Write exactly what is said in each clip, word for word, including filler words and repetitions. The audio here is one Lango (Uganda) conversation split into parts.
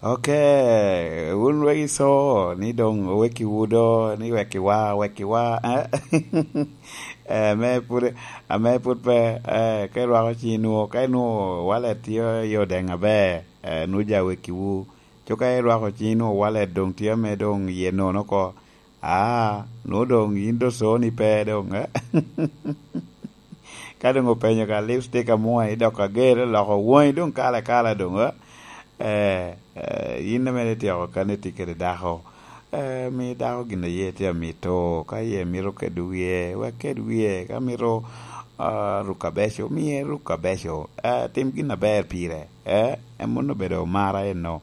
Ok, wun wegi iso ni doŋ owekkiwu do, ni wekkiwa, wekkiwa, eh? Eh, ame pud, ame pud pe, eh, ka irwako ciŋi nwoŋo, ka inwoŋo walet tye i odeŋ aber, eh, nwoŋo ja wekkiwu. Cuk ka irwako ciŋi nwoŋo walet doŋ tye ame doŋ iye nono oko. Ah, nwoŋo doŋ yin doŋ soni pe doŋ, eh? Ka doŋ openyo ka lipstick amwoŋo, idok ager, loko woŋi doŋ kala kala doŋ, eh? Eh, eh, yin ame ityeko kani itye kede dako, eh, mi dako gin a ye tye amito, ka ye mito kedo wie, wek ked wie, ka mito, ah, ruko abeco, miye ruko abeco, eh, tim gin aber pire, eh? En mano obedo mara eno,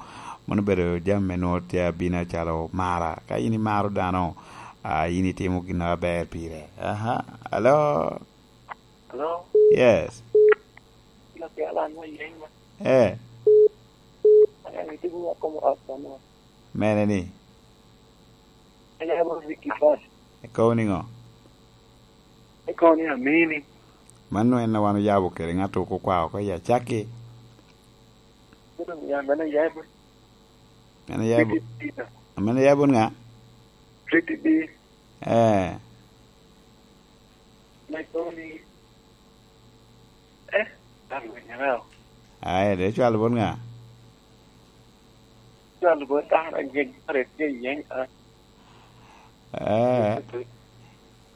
mano obedo jami me nwoŋo tye abino acalo mara. Ka yin imaro dano, ah, yin itimo gin aber pire. Aha, alo? Hello? Yes. Lakyal an wa yeny ma. Eh. Aya, itibu wa komo ot dano. Mene ni? Aya, mo Vicky Pass. Ikobo niŋo? Ikobo ni Amini. Mano en a wan oyabo kede ŋat oko kwa oko i acakki. Mano ya, mano ya, mano. Mano ya, Pretty Peter. Mano ya bun ŋa? Pretty B. Eh. Like only, eh, I'm going around. Aye, de cwalo bot ŋa? Cwalo bot dano, a, yeny, a, yeny, a. Eh.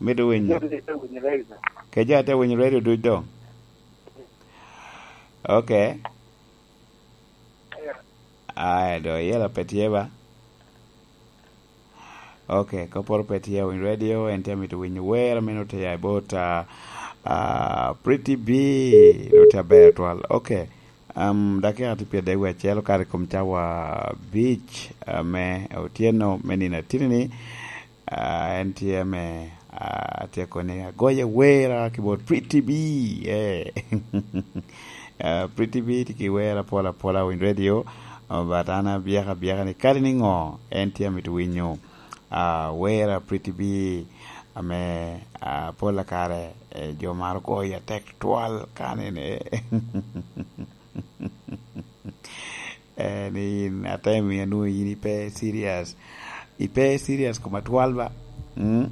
Mito winyo. Mito winyo radio. Ke jo ate winyo radio duc doŋ? Ok. Yeah. Aye, do yela pe tye ba? Ok, kopporo pe tye awinyo radio, en tye amito winyo wer, amito tye i bot, ah, ah, Pretty B, no tye aber twal. Ok, um, dakika tye pye dek wie acel, okato i kom cawa abic, ah, me otyeno me nino atini ni, ah, en tye me, ah, atyeko ni agoye wera ki bot Pretty B, eh. Ah, Pretty B tye ki wer apol apola awinyo radio, ah, but an abyeka abyeka ni kadi ni ŋo, en tye amito winyo. Ah, wer a Pretty B ame, ah, pol kare, eh, jo maro goyo atek twal kanene. Eh, ni in atemo ya nwoŋo in ipe serious. Ipe serious kom atwal ba? Mm?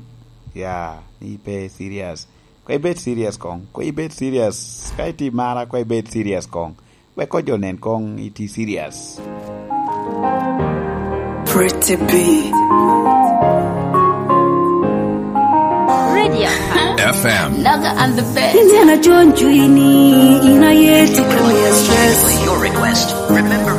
Ya, ni ipe serious. Ko ibed serious koŋ. Ko ibed serious. Ka iti mara, ko ibed serious koŋ. Wek ko jo nen koŋ iti serious. Pretty B. Radio F M. Naga and the best. Inena John Juini, ina yeti kamiya stress. Your request. Remember